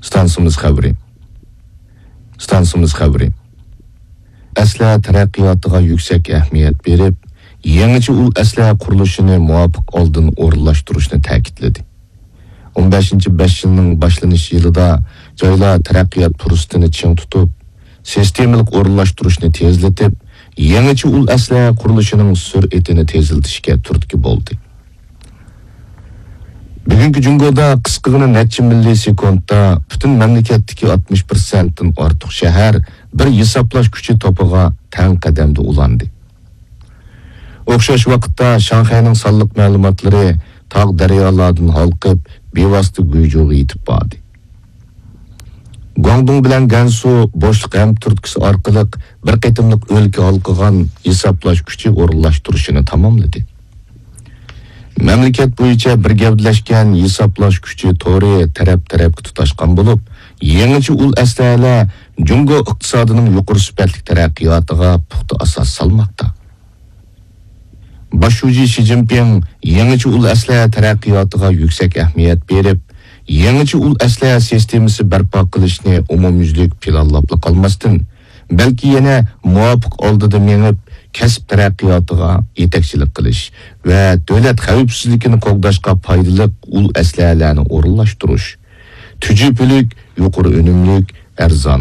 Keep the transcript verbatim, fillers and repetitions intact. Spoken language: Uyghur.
ئىستانسىمىز خەۋىرى. ئىستانسىمىز خەۋىرى. ئەسلىھە تەرەققىياتىغا يۈكسەك ئەھمىيەت بېرىپ، يېڭىچە ئۇل ئەسلىھە قۇرۇلۇشىنى مۇۋاپىق ئالدىن ئورۇنلاشتۇرۇشنى تەكىتلىدى. ئون بەشىنچى بەش يىلنىڭ باشلىنىش يىلىدا جايلار تەرەققىيات پۇرسىتىنى چىڭ تۇتۇپ، سىستېمىلىق ئورۇنلاشتۇرۇشنى تېزلىتىپ، يېڭىچە ئۇل ئەسلىھە قۇرۇلۇشىنىڭ سۈرئىتىنى تېزلىتىشكە تۈرتكە بولدى. بۈگۈنكى جۇڭگودا قىسقىغىنا نەچچە مىللىي سېكۇنتتا پۈتۈن مەملىكەتتىكى ئاتمىش پىرسەنتتىن ئارتۇق شەھەر بىر ھېسابلاش كۈچى توپىغا تەڭ قەدەمدە ئۇلاندى. ئوخشاش ۋاقىتتا شاڭخەينىڭ سانلىق مەلۇماتلىرى تاغ دەريالاردىن ھالقىپ، بىۋاسىتە گۇيجۇغا يېتىپ باردى. گۇاڭدۇڭ بىلەن گەنسۇ بوشلۇق ھەمتۈرتكىسى ئارقىلىق بىر قېتىملىق ئۆلكە ھالقىغان ھېسابلاش كۈچى ئورۇنلاشتۇرۇشىنى تاماملىدى. مەملىكەت بويىچە بىر گەۋدىلەشكەن ھېسابلاش كۈچى تورى تەرەپ-تەرەپكە تۇتاشقان بولۇپ، يېڭىچە ئۇل ئەسلىھەلەر جۇڭگو ئىقتىسادىنىڭ يۇقىرى سۈپەتلىك تەرەققىياتىغا پۇختا ئاساس سالماقتا. باش شۇجى شى جىنپىڭ يېڭىچە ئۇل ئەسلىھە تەرەققىياتىغا يۈكسەك ئەھمىيەت بېرىپ، يېڭىچە ئۇل ئەسلىھە سىستېمىسى بەرپا قىلىشنى ئومۇميۈزلۈك پىلانلاپلا قالماستىن، بەلكى يەنە مۇۋاپىق ئالدىدا مېڭىپ، كەسىپ تەرەققىياتىغا يېتەكچىلىك قىلىش ۋە دۆلەت خەۋپسىزلىكىنى قوغداشقا پايدىلىق ئۇل ئەسلىھەلەرنى ئورۇنلاشتۇرۇش، تۈجۈپىلىك، يۇقىرى ئۈنۈملۈك، ئەرزان